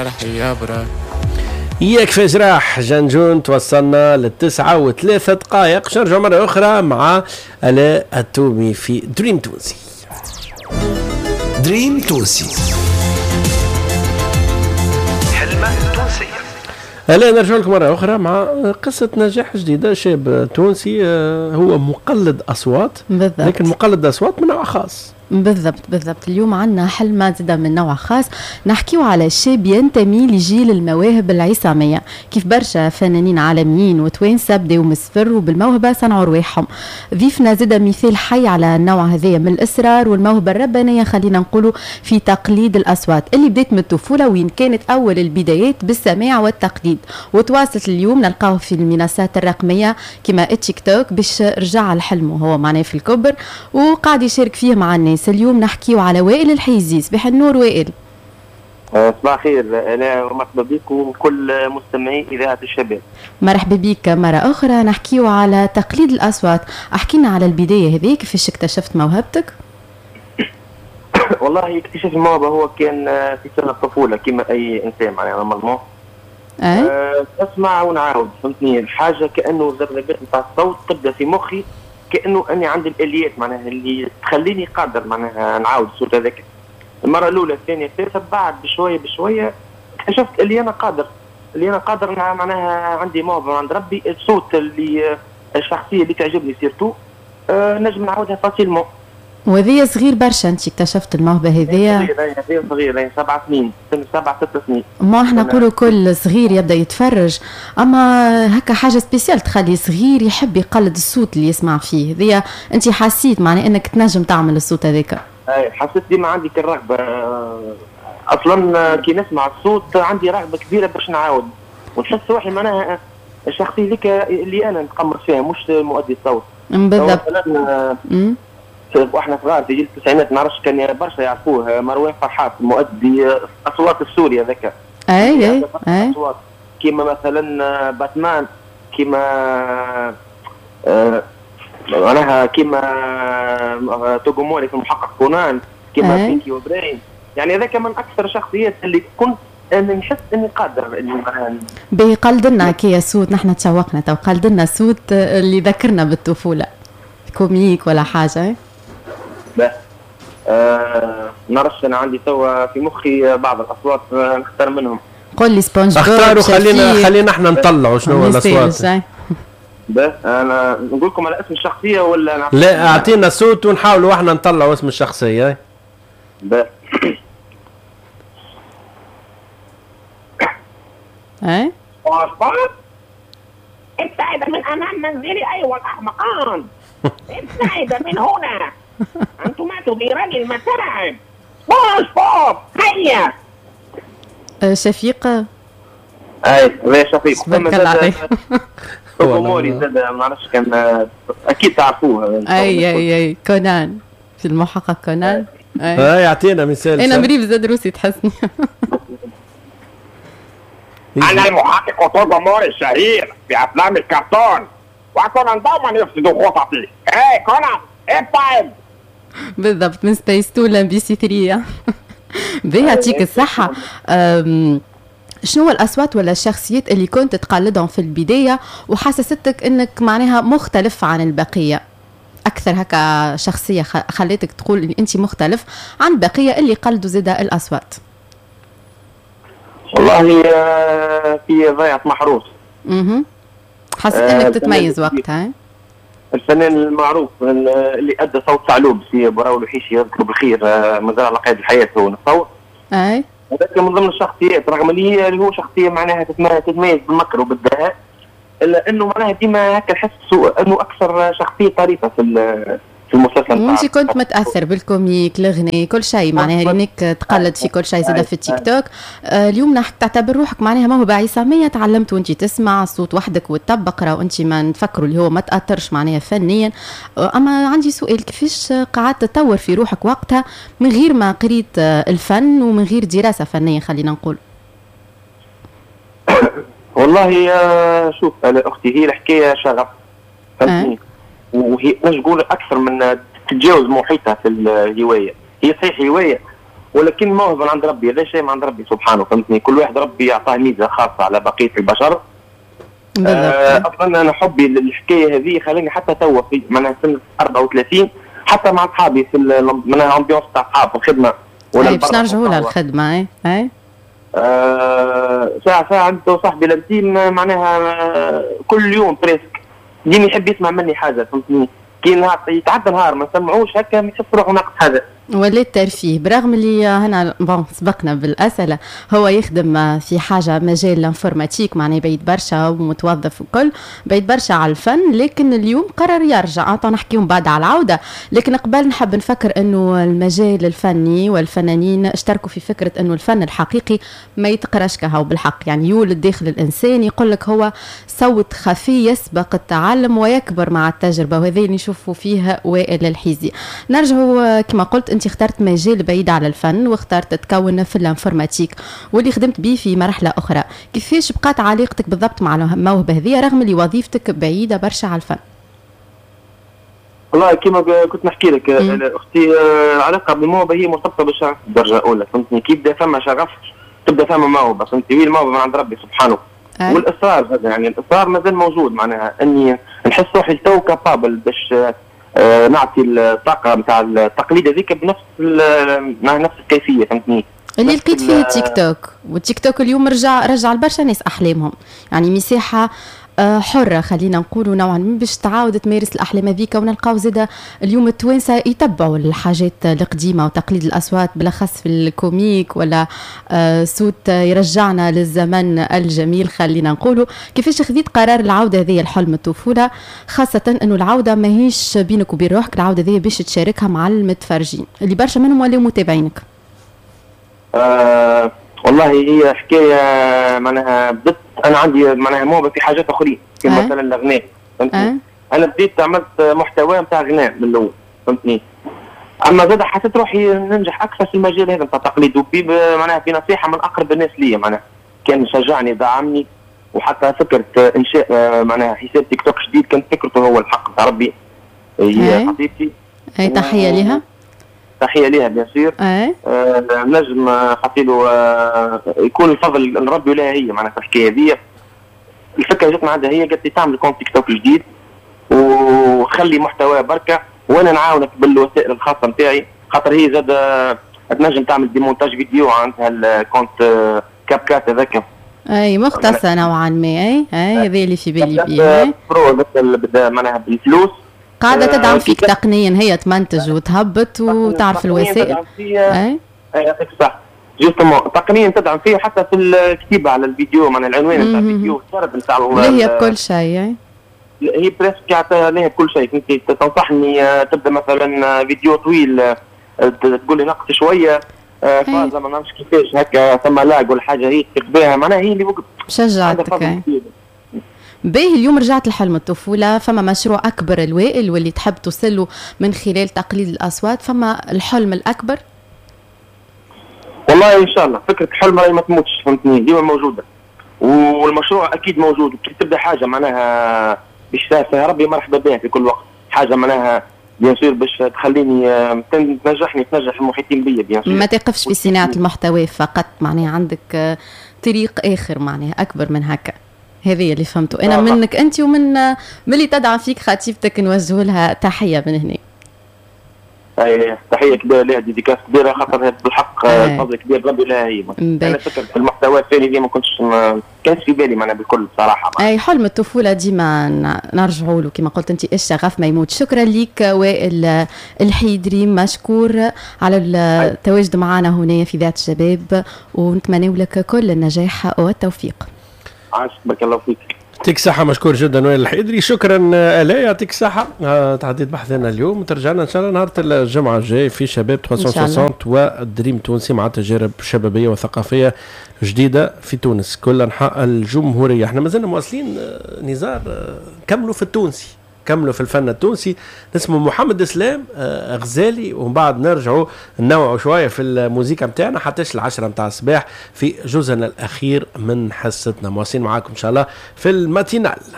يا يكفي جراح جنجون. توصلنا 9:03. نرجع مرة أخرى مع آلاء التومي في دريم تونسي. دريم تونسي، حلمة تونسية. آلاء، نرجع لكم مرة أخرى مع قصة نجاح جديدة. شاب تونسي هو مقلد أصوات. بالضبط. لكن مقلد أصوات من نوع خاص. بالضبط بالضبط. اليوم عندنا حلمة زادة من نوع خاص، نحكيو على شاب ينتمي لجيل المواهب العصامية، كيف برشا فنانين عالميين وتوانسة بداو من الصفر وبالموهبة صنعوا رواحهم. ضيفنا زادة مثال حي على النوع هذايا من الإصرار والموهبة الربانية، خلينا نقولوا في تقليد الأصوات اللي بدات من الطفولة، وين كانت أول البدايات بالسماع والتقليد، وتواصلت اليوم نلقاوه في المنصات الرقمية كما التيك توك باش رجع لحلمه هو معناه في الكبر وقاعد يشارك فيه مع الناس. اليوم نحكيو على وائل الحيزي. صباح النور وائل. صباح الخير انا، ومرحبا بك وكل مستمعي اذاعة الشباب. مرحبا بك مرة اخرى. نحكيو على تقليد الاصوات، احكينا على البداية هذه، كيفاش اكتشفت موهبتك؟ والله اكتشاف الموهبة هو كان في سن الطفولة كما اي انسان معناها normalement. اسمع ونعاود، فهمتني الحاجة كانه الذبذبات نتاع الصوت تبدا في مخي، كانه اني عندي الاليات معناها اللي تخليني قادر معناها نعاود الصوت هذاك. المرة الاولى الثانية الثالثة، بعد بشوية بشوية اكتشفت اللي انا قادر، اللي انا قادر معناها عندي موهبة عند ربي، الصوت اللي الشخصية اللي تعجبني surtout نجم نعاودها facilement. وهذه صغير برشا انت اكتشفت الموهبة هذيا؟ صغير صغير، 7 سنين، سن 7 6 سنين. ما احنا نقولوا كل صغير يبدا يتفرج، اما هكا حاجة spéciale تخلي صغير يحب يقلد الصوت اللي يسمع فيه. هذيا انت حسيت معناها انك تنجم تعمل الصوت هذاك؟ اي حسيت ديما عندي الرغبة اصلا، كي نسمع الصوت عندي رغبة كبيرة باش نعاود، ونحس روحي معناها الشخصية ذيك اللي انا نتقمص فيها مش مؤدي الصوت. بالضبط. واحنا صغار في جيل التسعينات، ما نعرفش كان برشا يعرفوه، مروان فرحات مؤدي اصوات السوري هذاك. اي اي اي. اصوات كيما مثلا باتمان، كيما معناها كيما توغوموري في المحقق كونان، كيما بينكي وبراين. يعني هذاك من اكثر الشخصيات اللي كنت انا نحس اني قادر اني معناها. باهي، قلدنا كي صوت، نحن تشوقنا تو، قلدنا صوت اللي ذكرنا بالطفولة، comique ولا حاجة. نعرفش انا عندي توا في مخي بعض الاصوات نختار منهم. قول لي سبونج بوب. اختاروا، خلينا احنا نطلعوا شنو هو الاصوات. انا نقول لكم على اسم الشخصية ولا لا؟ اعطينا صوت ونحاولوا احنا نطلعوا اسم الشخصية. اي ابتعد من امام منزلي ايها الاحمقان، ابتعد من هنا، انتما تديران المتاعب. سبونج بوب هيا. شفيق. اي لا شفيق. تبارك الله عليك. توغوموري زاد ما نعرفش كان اكيد تعرفوه. اي اي اي، كونان في المحقق كونان. اي يعطينا مثال. انا مريض زاد روسي تحسني. انا المحقق توغوموري الشهير في افلام الكرتون، وكونان دوما يفسد خططي. اي كونان ابتعد. بالضبط، من سبيس تون لام بي سي 3. باهي، يعطيك الصحة. شنو الأصوات ولا الشخصيات اللي كنت تقلدهم في البداية وحسستك أنك معناها مختلف عن البقية؟ أكثر هكا شخصية خليتك تقول إن أنت مختلف عن البقية اللي قلدوا زادة الأصوات؟ والله في ضيعة محروس. حسيت أنك تتميز وقتها. الفنان المعروف اللي أدى صوت ثعلوب سي براو الوحيشي يذكره بالخير، مازال على قيد الحياة هو نتصور. أي هذاك من ضمن الشخصيات، رغم اللي هو شخصية معناها تتميز بالمكر وبالدهاء، الا انه معناها ديما هكا نحس انه اكثر شخصية طريفه في المسلسل. وانت كنت متاثر بال comique، الغناء، كل شيء معناها لانك تقلد في كل شيء زاد في التيك توك. اليوم تعتبر روحك معناها موهبة عصاميه، تعلمت وانت تسمع صوت وحدك وتطبق، راهو انت ما نفكروا اللي هو ما تاثرش معناها فنيا. اما عندي سؤال، كيفاش قعدت تطور في روحك وقتها من غير ما قريت الفن ومن غير دراسة فنية خلينا نقول؟ والله شوف انا اختي، هي الحكاية شغف، فهمتني؟ وهي نقول اكثر من تتجاوز محيطها في الهواية. هي صحيح هواية، ولكن موهبة من عند ربي، هذا شيء من عند ربي سبحانه، فهمتني؟ كل واحد ربي يعطاه ميزة خاصة على بقية البشر. اصلا انا حبي للحكايه هذه خلاني حتى توا في معناها سنة 34 حتى مع اصحابي في معناها ambiance تاع اصحاب في الخدمة ولا باش نرجعوا لها الخدمة. اي ساعة ساعة عنده صاحبي l'intime معناها كل يوم presque ديما يحب يسمع مني حاجة، فهمتني؟ كي نهار يتعدى نهار ما نسمعوش هكا يحس روحه ناقص حاجة. ولات ترفيه، برغم اللي هنا bon سبقنا بالاسئلة، هو يخدم في حاجة مجال l'informatique، معناه بعيد برشا ومتوظف وكل، بعيد برشا على الفن، لكن اليوم قرر يرجع. نحكيو بعد على العودة، لكن قبل نحب نفكر انه المجال الفني والفنانين اشتركوا في فكرة انه الفن الحقيقي ما يتقراش كهو بالحق، يعني يولد داخل الانسان، يقول لك هو صوت خفي يسبق التعلم ويكبر مع التجربة، وهذا اللي نشوفوا فيه وائل الحيزي. نرجعوا كما قلت انت اخترت مجال بعيد على الفن واخترت تكون في l'informatique واللي خدمت به في مرحلة اخرى، كيفاش بقات علاقتك بالضبط مع الموهبة هذه رغم اللي وظيفتك بعيدة برشا على الفن؟ والله كما كنت نحكي لك اختي، العلاقة بالموهبه هي مرتبطة بالشغف بالدرجة الاولى، فهمتني؟ كي يبدا ثم شغف تبدا ثم موهبة، فهمتني؟ هي الموهبة من عند ربي سبحانه. والاصرار هذا، يعني الاصرار مازال موجود، معناها اني نحس روحي تو capable باش نعطي الطاقة نتاع التقليد هذيك بنفس مع نفس الكيفية، فهمتني؟ اللي لقيت فيه التيك توك، والتيك توك اليوم رجع لبرشا ناس احلامهم، يعني مساحة حره خلينا نقولوا نوعا ما باش تعاود تمارس الاحلام هذيك، ونلقاو زاده اليوم التوانسة يتبعوا الحاجات القديمة وتقليد الاصوات بالاخص في ال comique ولا صوت يرجعنا للزمن الجميل خلينا نقولوا. كيفاش خذيت قرار العودة هذه لحلم الطفولة، خاصة انه العودة ماهيش بينك وبين روحك، العودة هذه باش تشاركها مع المتفرجين اللي برشا منهم ولاو متابعينك؟ والله هي حكاية معناها بدت، انا عندي معناها موهبة في حاجات اخرين كما مثلا الغناء، فهمتني؟ انا بديت عملت محتوى نتاع غناء من الاول، فهمتني؟ اما زاد حسيت روحي ننجح اكثر في المجال هذا نتاع التقليد، معناها بنصيحة من اقرب الناس ليا، معناها كان شجعني دعمني، وحتى فكرة انشاء معناها حساب تيك توك جديد كانت فكرته هو الحق نتاع ربي، هي خطيبتي. اي تحية لها. تحية ليها bien sûr. نجم خاطيله يكون الفضل لربي ولها هي، معناها في الحكاية هذه. الفكرة جات من عندها هي، قالت لي تعمل compte تيك توك جديد وخلي محتوى بركة وانا نعاونك بالوسائل الخاصة نتاعي، خاطر هي زاد تنجم تعمل des montages vidéo، عندها ال compte CapCut هذاك. اي مختصة نوعا ما. اي هذا اللي في بالي بيه. pro معناها بالفلوس قاعدة تدعم فيك تقنيا، هي تمنتج وتهبط وتعرف الوسائل. اي يعطيك الصحة، justement تقنيا تدعم فيه حتى في الكتيبة على الفيديو، معناها العنوان نتاع الفيديو السرد نتاع هي بكل شيء، هي presque لها بكل شيء. كنت تنصحني تبدا مثلا فيديو طويل تقول لي نقص شوية فازة ما نعرفش كيفاش هكا ثم lag ولا حاجة هي تكتبها، معناها هي اللي شجعتك. باهي اليوم رجعت لحلم الطفولة، فما مشروع أكبر الوائل واللي تحب توصله من خلال تقليد الأصوات، فما الحلم الأكبر؟ والله إن شاء الله فكرة الحلم راهي ما تموتش، فهمتني؟ ديما موجودة والمشروع أكيد موجود. كي تبدأ حاجة معناها باش فيها ربي مرحبا بها في كل وقت، حاجة معناها bien sûr باش تخليني تنجحني تنجح المحيطين بيا bien sûr. ما تقفش في صناعة المحتوى فقط، معناها عندك طريق آخر معناها أكبر من هكا. هذه اللي فهمته انا منك انت ومن اللي تدعم فيك خطيبتك، نوجه لها تحية من هنا. اي تحية كبيرة لها، dédicace كبيرة، خاطر بالحق الفضل كبير ربي لها هي. انا فكرة المحتوى الثاني دي ما كنتش كانش في بالي معناها بالكل بصراحة. اي حلم الطفولة ديما نرجعوا له كما قلت انت، الشغف ما يموت. شكرا لك وائل الحيدري، مشكور على التواجد معنا هنا في ذات الشباب، ونتمنى لك كل النجاح والتوفيق. عاش، بارك الله فيك. يعطيك الصحة، مشكور جدا وائل الحيدري. شكرا آلاء، يعطيك الصحة. تعديت بحثنا اليوم وترجعنا إن شاء الله نهار الجمعة الجاي في شباب 360 ودريم تونسي مع تجارب شبابية وثقافية جديدة في تونس كل أنحاء الجمهورية. احنا مازلنا مواصلين نزار، كملوا في التونسي، كملوا في الفن التونسي. اسمه محمد اسلام غزالي، ومن بعد نرجعوا ننوعوا شوية في الموسيقى نتاعنا حتى 10 نتاع الصباح في جزءنا الاخير من حصتنا. مواصلين معاكم ان شاء الله في ال matinale.